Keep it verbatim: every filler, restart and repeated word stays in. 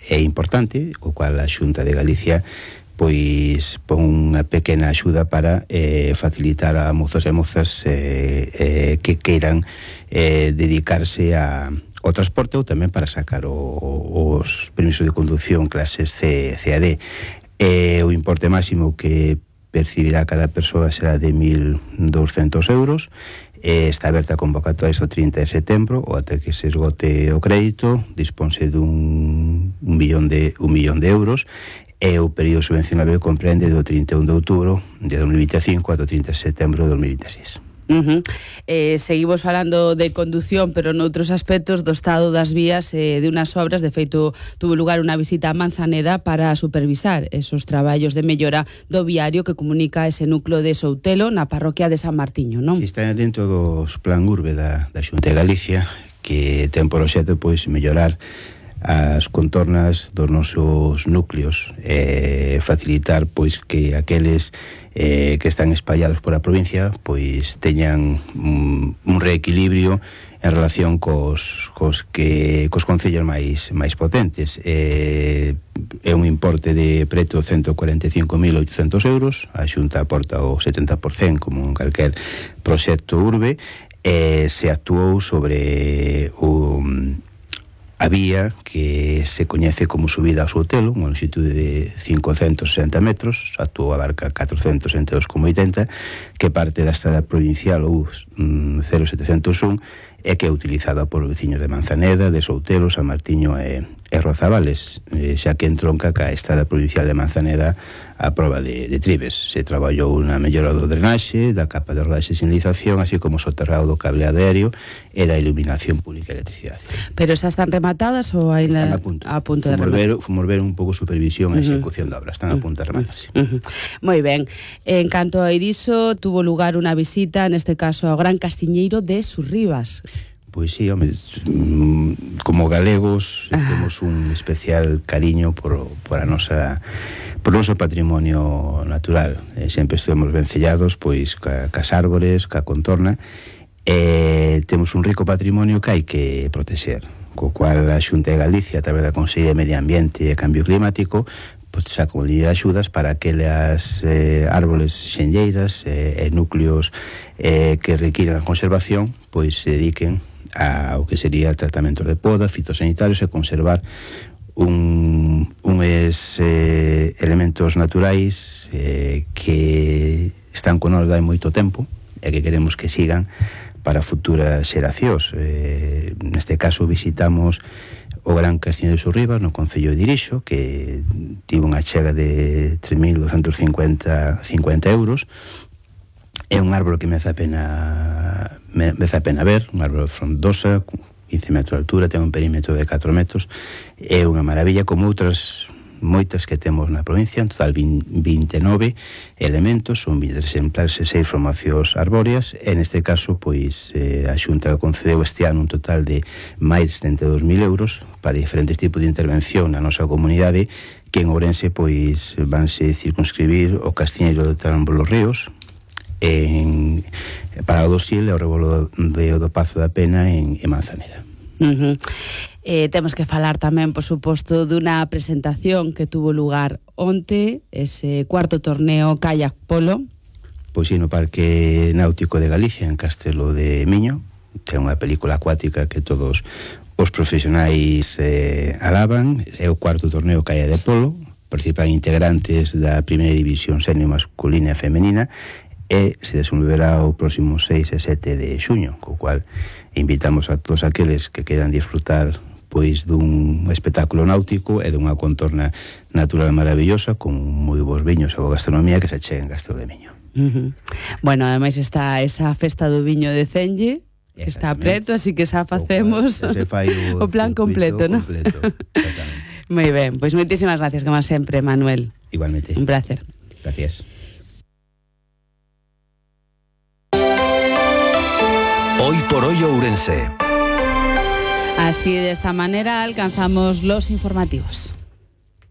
é importante, o cual a Xunta de Galicia pois pon unha pequena axuda para eh, facilitar a mozos e mozas eh, eh, que queiran eh, dedicarse a, ao transporte ou tamén para sacar o, os permisos de conducción clases C, C A D. Eh, o importe máximo que percibirá cada persoa será de mil douscentos euros. Eh, está aberta a convocatoria o trinta de setembro ou até que se esgote o crédito. Disponse dun un millón de, un millón de euros. E o período subvencionable comprende do trinta e un de outubro de dos mil vinte e cinco ao trinta de setembro de dos mil vinte e seis. Uh -huh. eh, seguimos falando de conducción, pero noutros aspectos do estado das vías e eh, de unas obras. De feito, tuvo lugar unha visita a Manzaneda para supervisar esos traballos de mellora do viario que comunica ese núcleo de Soutelo na parroquia de San Martiño, non? Si, está dentro dos plan urbe da, da Xunta de Galicia, que ten por obxecto pois mellorar as contornas dos nosos núcleos, eh, facilitar pois que aqueles eh, que están espallados por a provincia pois teñan un, un reequilibrio en relación cos, cos, que, cos concellos máis, máis potentes. Eh, é un importe de preto ciento cuarenta e cinco mil oitocentos euros. A Xunta aporta o setenta por cento como en calquer proxecto urbe. Eh, se actuou sobre o a vía que se coñece como subida ao Soutelo, unha longitude de cincocentos sesenta metros, actuou a barca catrocentos setenta e dous coma oitenta, que parte da estrada provincial ou mm, cero setecentos un, e que é utilizada por veciños de Manzaneda, de Soutelo, San Martiño e, e Rozavales, eh, xa que entronca ca estrada provincial de Manzaneda a proba de, de Tribes. Se traballou na mellora do drenaxe, da capa de rodaxe e sinalización, así como o soterrado do cable aéreo e da iluminación pública e electricidade. Pero xa están rematadas ou ainda están a punto, a punto de fomos rematar? Ver, fomos ver un pouco supervisión e execución uh -huh. da obra, están a punto de rematarse. Uh -huh. Moi ben. En canto a Iriso, tuvo lugar unha visita, neste caso ao Gran Castiñeiro de Surribas. Pois sí, home, como galegos ah. temos un especial cariño por, por a nosa por o noso patrimonio natural. Eh, sempre estuvemos vencellados pois ca, cas árbores, ca contorna, e temos un rico patrimonio que hai que protexer, co cual a Xunta de Galicia, a través da Consellería de Medio Ambiente e Cambio Climático, pois xa como de axudas para aquelas eh, árboles xenlleiras e eh, núcleos eh, que requiran a conservación, pois se dediquen ao que sería tratamento de poda, fitosanitarios e conservar un, unes eh, elementos naturais eh, que están con nós de moito tempo e que queremos que sigan para futuras xeracións. Eh, neste caso visitamos o Gran Castiñeiro de Surribas no concello de Irixo, que tivo unha chega de tres mil doscientos cincuenta euros. É un árbol que merece a pena merece a pena ver, un árbol frondosa, quince metros de altura, ten un perímetro de catro metros, é unha maravilla, como outras moitas que temos na provincia, en total vinte e nove elementos, son vinte exemplares e seis formacións arbóreas, e neste caso, pois, eh, a Xunta concedeu este ano un total de máis de setenta e dous mil euros para diferentes tipos de intervención na nosa comunidade, que en Ourense, pois, vanse circunscribir o Castiñeiro de Trambo los Ríos, en, para o Dosil e o Rebolo de, do Pazo da Pena en, en Manzaneda. Uh -huh. eh, temos que falar tamén, por suposto, dunha presentación que tuvo lugar onte, ese cuarto torneo Kayak Polo. Pois sí, no Parque Náutico de Galicia, en Castelo de Miño. Ten unha película acuática que todos os profesionais eh, alaban. É o cuarto torneo Kayak de Polo. Participan integrantes da primeira división senior masculina e femenina, e se desenvolverá o próximo seis e sete de xuño, co cual invitamos a todos aqueles que queran disfrutar pois dun espectáculo náutico e dunha contorna natural maravillosa con moi bons viños e boa gastronomía que se cheguen en Castelo de Miño. Uh -huh. Bueno, ademais está esa festa do viño de Cenlle, que está preto, así que xa facemos o, o, o plan completo, ¿no? Completo, exactamente. Moi ben, pois moitísimas gracias, como sempre, Manuel. Igualmente. Un placer. Gracias. Hoy por hoy Ourense. Así, de esta manera, alcanzamos los informativos.